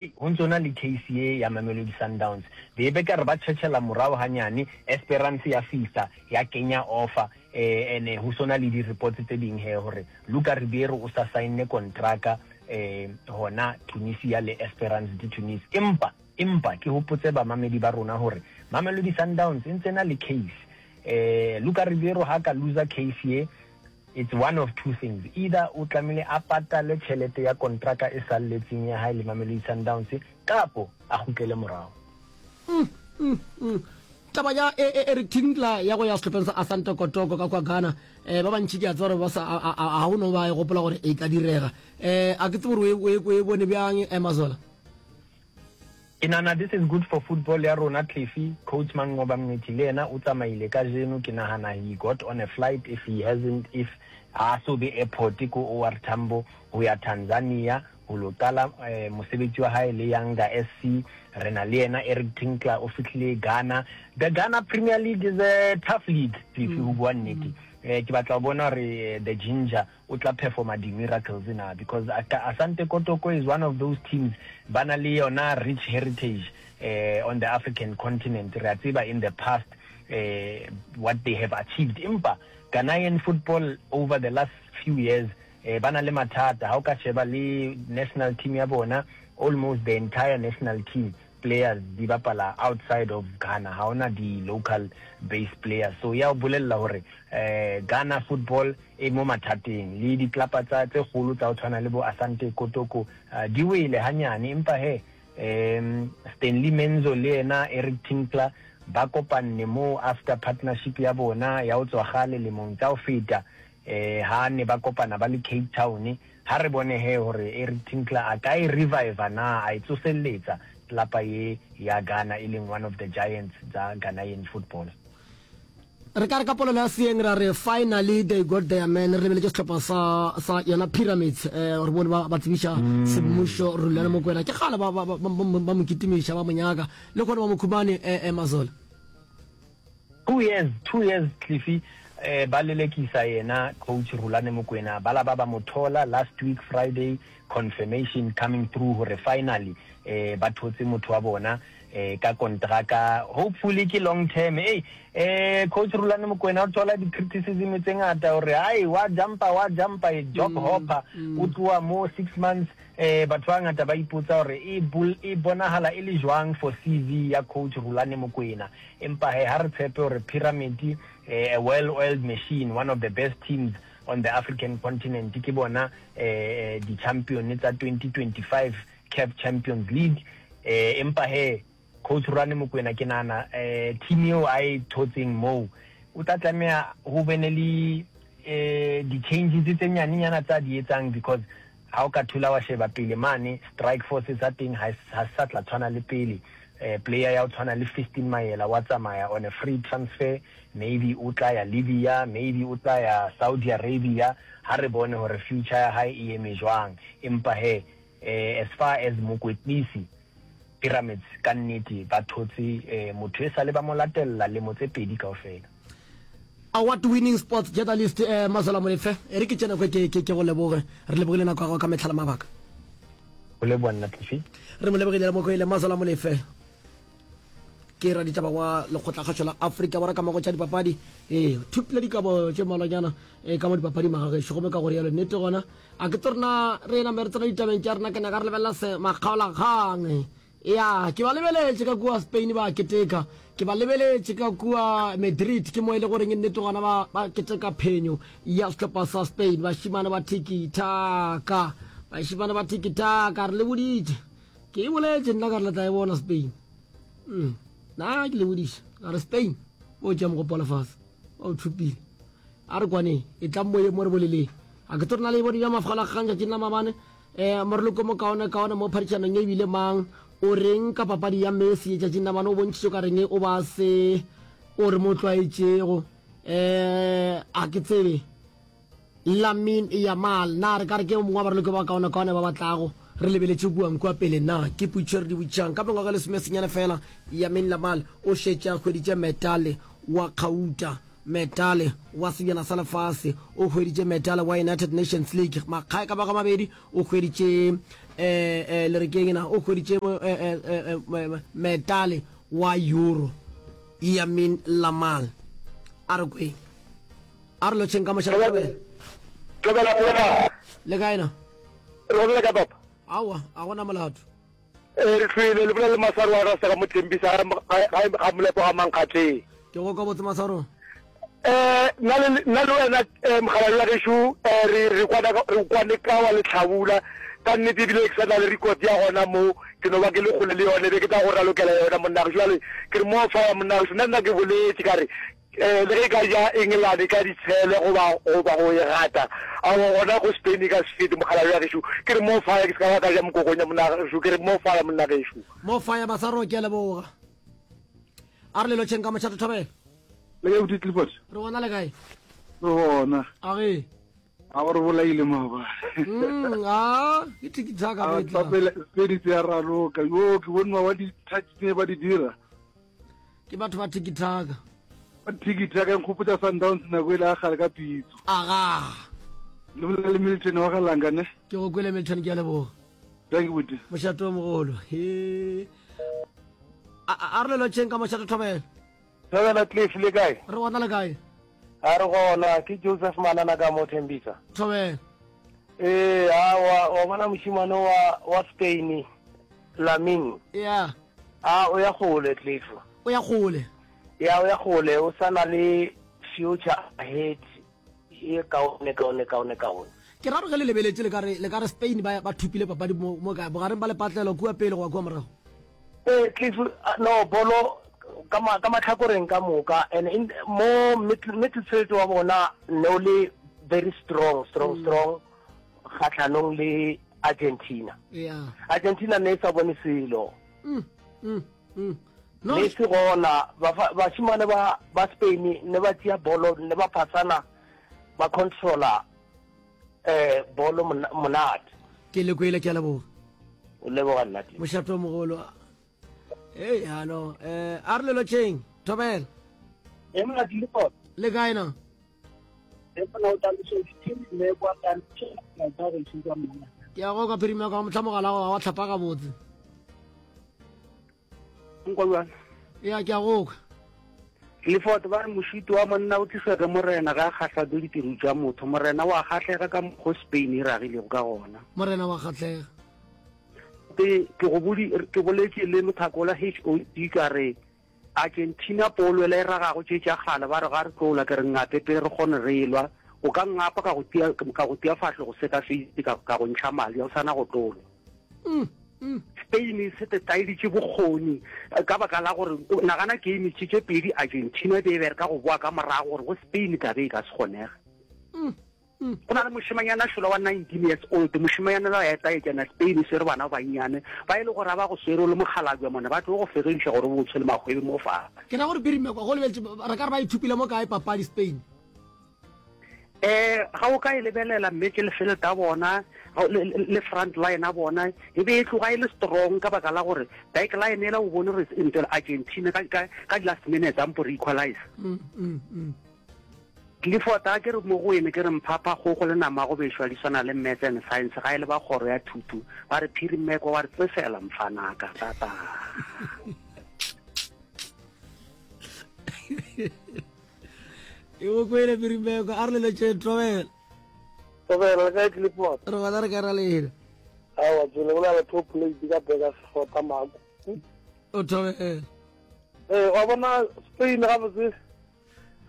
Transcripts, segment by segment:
Ho ntso na le case ye ya Mamelodi Sundowns. Be be kare ba tšhetšhela morago ganyane, Esperance ya fihla ya kenya offer eh ene ho sona le di reports tse ding he hore Luka Ribeiro o sa saenne kontraka eh hona Tunisia le Esperance de Tunis. Empa empa ke hopotse bamamedi ba rona hore Mamelodi Sundowns e ntse na le case. Eh Luka Ribeiro ha ka loser case ye It's one of two things, either o tlamehile a patale tjhelete ya kontraka e salletseng ya hae le Mamelodi Sundowns kapo a kgutlele morao. Mm, mm, mm. Taba ya e, e, Eric Tinkler ya go ya sehlopheng sa Asante Kotoko ka kwa Ghana, eh, ba bantši ke a tseba gore ba sa a, a, a go no ba e gopola gore e ka direga. Eh, a ke tsebe gore o e, o e bone bjang, eh, Mazola? Ke nahana this is good for football ya rona Cliffy, coach Manqoba Mngqithi le yena o tsamaile kajeno ke nahana he got on a flight if he hasn't if ha so be airport ko OR Tambo ho ya Tanzania ho lo qala mosebetsi wa hae le Yanga SC re na le yena Eric Tinkler o fihlile Ghana the Ghana Premier League is a tough league Cliffy ho bua nnete ke batla ho bona hore the ginger o tla performa di miracles na because Asante Kotoko is one of those teams ba na le yona rich heritage eh, on the African continent re a tseba in the past eh, what they have achieved empa Ghanaian football over the last few years eh, ba na le mathata ha o ka sheba le national team ya bona almost the entire national team players di bapala outside of Ghana ha ona di local based players so ya o bolella hore eh Ghana football e mo mathateng le diklapa tsa tse kgolo tsa ho tshwana le bo Asante Kotoko uh, di wele hanyane empa he um Stanley Menzo le yena Eric Tinkler ba kopanne mo after partnership ya bona ya ho tswa gale lemong tsa ho feta eh ha ne ba kopana ba le Cape Town Ha re bone he hore Eric Tinkler a ka e reviver na, a e tsoselletsa tlelapa ye ya Ghana e leng one of the giants tsa Ghanaian football. Re ka re ka polelo ya seeng ra re finally they got their man. Re lebeletše sehlopha sa sa yona Pyramids eh re bone ba ba tsebiša semmušo Rulani Mokwena. Ke kgale ba ba ba ba mo kitimiša ba mo nyaka le kgone ba mo khumane eh eh Mazola. 2 years, 2 years Cliffy eh, ba lelekisa yena coach Rulani Mokwena ba la ba ba mo thola last week Friday confirmation coming through hore finally eh, ba thotse motho wa bona eh, ka kontraka hopefully ke long term hey eh, coach Rulani Mokwena o thola di-criticism tse ngata hore hai wa jumpa wa jumpa e job hopper o tloha mo 6 months eh, batho ba ngata ba ipotsa hore e, e bonahala e le jwang for CV ya coach Rulani Mokwena Empa he, ha re tshepe hore Pyramid, a well-oiled machine, one of the best teams on the African continent, ke bona di-champion tsa 2025 CAF Champions League. Empa he, Coach Rulani Mokwena, ke nahana team eo a e thotseng moo, o tla tlameha ho bene le di-changes tse nyanenyana tsa di etsang because Ha o ka thula wa sheba pele mane, strike force sa teng ha se sa tla tshwana le pele. Player ya ho tshwana le Fiston Mayela wa tsamaya on a free transfer, maybe o tla ya Libya, maybe o tla ya Saudi Arabia, ha re bone hore future ya hae e eme jwang. Empa he, as far as mokwetlisi, Pyramids ka nnete ba thotse motho esale ba mo latella lemo tse pedi kaofela. Award winning sports journalist eh, Mazola Molefe, e re ke tše nako ke ke ke go leboge. Re lebogile nako ya gago ka mehla le mabaka. Go leboga nna Cliffy. Re mo lebogile le mokwele Mazola Molefe. Ke raditaba wa lekgotlakgašo la Afrika Borwa ka mo go tša dipapadi. Ee, thupile dikabo tše mmalwanyana e ka mo dipapading magagešo gomme ka go rialo nnete gona a ke tse rena re name re tsena ditabeng tša rena ke nyaka re lebelela se makgaolakgang Ya, ke ba lebeletše ka kua Spain ba keteka. Ke ba lebeletše ka kua Madrid, ke mo e le goreng nnete gona ba, ba keteka phenyo ya sehlopha sa Spain. Bašemane ba tiki-taka, bašemane ba tiki-taka, re le boditše. Ke e boletše nna ka re le tla e bona Spain. Mm. Na ke le bodiše, ka re Spain, bo tšea mogopo wa lefase, ba o thopile. A re kwaneng, e tlang moyeng mo re boleleng. A ke tlo re na le e bone bja mafgalakgang tšatšing la maabane. E, moraloki o mokaonekaone mo phadišanong ye e bile mang? O reng ka papadi ya Messi letšatšing la bana? O bontšhitše ka reng o ba se o re mo tlwaetšego? E, a ke tsebe. Lamine Yamal, na re ka re ke yo mongwe wa baraloki ba bakaonekaone ba ba tlago? Re lebeletše kuang kua pele, na ke potšišo e re di botšišang. Ka mengwaga e lesomesenyane fela, Lamine Yamal o šetše a hweditše metale wa kgauta. Metale wa Sebjana sa Lefase, o hweditše metale wa United Nations League makga e ka bago a mabedi, o hweditše eh, eh, le re keng na o hweditše eh, eh, eh, metale wa euro Yamin Lamal a re kweng a re lotšheng ka mošara thobela thobela thobela le kae na re gona ka papa aowa a gona molato ee re tlhoile le bolela le maswaro wa rasta ka mothembisa ga molepo ga mankgatleng ke go ka botse maswaro um nna le wena um mogala wa gešo um re kwane ka wa letlhabula ka nnete ebile ke sa na le record ya gona mo ke no ba ke le kgole le yone be ke tla go ralokela yona monna gešo jale ke re mo fa ya monna gešo nna nna ke boletše ka re um le ge e ka ja Engelane ka ditshele goba goba go e gata aowa gona go Spain e ka se fete mokgalabje wa gešo ke re mo fire ke se ka ba ka ja mokokonya monna gešo ke re mo fire monna gešo. Mo fire Masaro ke a leboga. A re le lotšheng ka mošate thobela. Le kae buti Clifford? Re gona le kae? Re gona. A ge. A gore bolaile maabane. Mm, a ke tiki-taka A bo e tla. tsapela Spain se ya raloka. Yo ke bone mawa di touch tse ba di dira. Ke batho ba tiki-taka. Ba tiki-taka nkgopotsa Sundowns nako ile a gale ka pitso. Aga. Le bolela le Milton wa ga Langa ne. Ke go kwele Milton ke a leboga. Thank you buti. Mošate o mogolo. He. A a re le lotšheng ka mošate thobela. Thobela Cliff le kae? Re gona le kae? A re gona, ke Joseph Manana ka mo Thembisa. Thobela. Ee, a wa wa bona mošimane wa wa Spain Lamin. Yeah. A o ya gole Cliff. O ya gole. Ya o ya gole, o sa na le future ahead ye kaone kaone kaone kaone. Ke ra gore ge le lebeletše le ka re le ka re Spain ba ba thopile papadi mo mo kae bogareng ba lepatlelo kua pele goba kua morago? Ee Cliff, no bolo ka ma ka mahlakoreng ka moka and in mo middle midfield wa bona ne o le very strong strong mm. strong kgatlhanong le Argentina. Yeah. Argentina ne e sa bone selo. Mm, mm. Mm. No. Messi gona bašemane ba ba Spain ne ba tšea bolo ne ba phasana ba controller eh bolo monate. Ke le kwele ke a leboga. O leboga nna. Mošato mogolo. Hey, halo. Eh, a re le lotšheng. Thobela. E mona di le gona. Le kae na? E mona o tla le kwa ka ka go ithuta mona. Ke a go ka phirima ka motlha mogala wa tlhapa gabotse. Nkwa bjang? Ya ke a go kwa. Clifford ba re mošito wa monna o tliswa ke morena ga a kgahlwa ke ditiro tša motho. Morena wa kgahlega ka mokgo Spain e ragilego ka gona. Morena wa kgahlega. Ke ke go bodi ke boletše le mothakola HOD ka re Argentina polo ela e ragago tše tša kgale ba re ga re tlo lwa ke re ngape pele re kgone re lwa o ka ngapa ka go tia ka go tia fahlogo se ka face ka ka go ntšha madi a o sana go tlo lwa. Mm, mm. Spain e se tetaeditše bokgoni eh, ka baka la gore nagana game tše tše pedi Argentina e be e bereka go boa ka morago gore go Spain tlabe e ka se kgonege. Mm. Mm. Go na le mošemanyana šola wa 19 years old, mošemanyana la ya etaetšana Spain e swere bana ba bannyane ba e le gore ba go swere o le mokgalabje mone ba tlo go fegediša gore o tshwele magwebe mo fa. Ke ra gore Pirimekwa go lebeletse re ka re ba ithupile mo kae papadi Spain? Eh ga o ka e lebelela mme ke lefelo ta bona le front line a bona e be e tloga e le strong ka baka la gore back line ela o bone gore ntela Argentina ka ka ka last minute a mpo re equalize. Mm, mm, mm. Clifford, a ke re mo go ene ke re mphapha kgogo le nama go bešwa di swana le Maths and Science ga e le ba kgoro ya thuto ba re phiri mmeko wa re tsefela mfanaka tata. E go kwele phiri mmeko a re le letše tobela. Tobela le kae Clifford? Re gona re ka ra lena. Aowa tsele go na le top plate ka beka sefota mako. O tobela. Ee wa bona Spain gabotse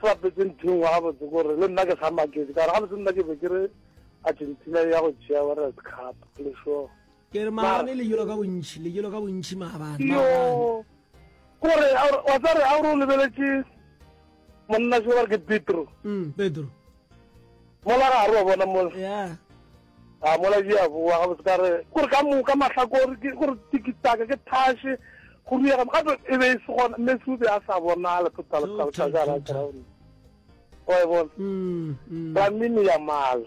se bapetse ntho engwe gabotse kore le nna ke sa maketse ka gore gabotse nna ke be ke re Argentina ya go tšea World Cup le sure. Ke re maabane le jelo ka bontši, le jelo ka bontši maabane. Yo. Kore wa tsare a o lebeletše monna se ba re ke Pedro. Mm, Pedro. Mola ga re wa bona mola. Yeah. A mola di a boa gabotse ka re kore ka moka mahlakore ke gore tikitaka ke thashe go riega gape e be e se gona Messi o be a sa bonale total total ka gara ground. Wa e bona. Mm, mm. Lamine Yamal.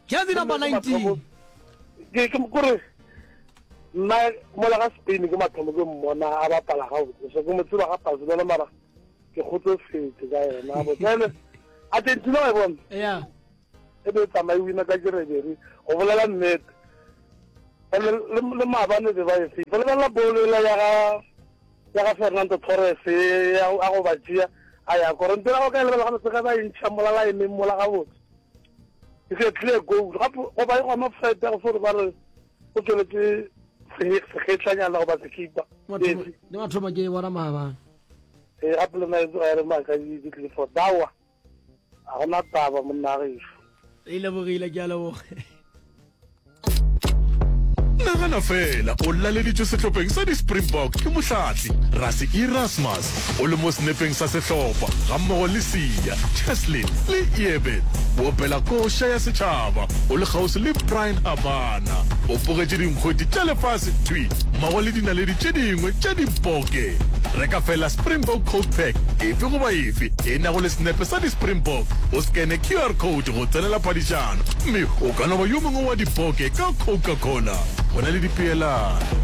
Jersey number 19. Ke ke kore nna mola ga Spain ke mathomo ke mmona a bapala gabotse so ke mo tseba ga Barcelona mara ke kgotsofetse ka yena botse Argentina wa e bona Yeah. e be e tsamaye wina ka jerebere go bolela nnete. Ene le le maabane be ba e fifa. Lebelela bolo ela ya ga ya ga Fernando Torres ya a go ba tšea a ya kora. Ntho ya go ka e lebelela gabotse ge ba e ntšha mola laeneng mola gabotse. It's a clear goal. Gape goba e gona offside ya go fo re ba re o tšweletše segetlanyana goba sekipa. Le mathomo ke e bona maabane. Ee gape le nna e tsoga ya re maaka di tlile for dawa. Ga gona taba monna gešo. E lebogile ke a leboga. Nagana fela o laleditšwe sehlopheng sa di-Springbok ke mohlahli Rassie Erasmus o le mo senepeng sa sehlopha gammogo le Siya, Cheslin le Eben. O opela koša ya setšhaba o le kgauswi le Bryan Habana. O bogetše dinkgwete tša lefase thwi mmogo le dinaledi tše dingwe tša diboke. Reka fela Springbok Coke Pack efe goba efe e nago le senepe sa di-Springbok, o skene QR code go tsenela phadišano mme o ka no ba yo mongwe wa diboke ka Coca-Cola. Go na le dipeelano.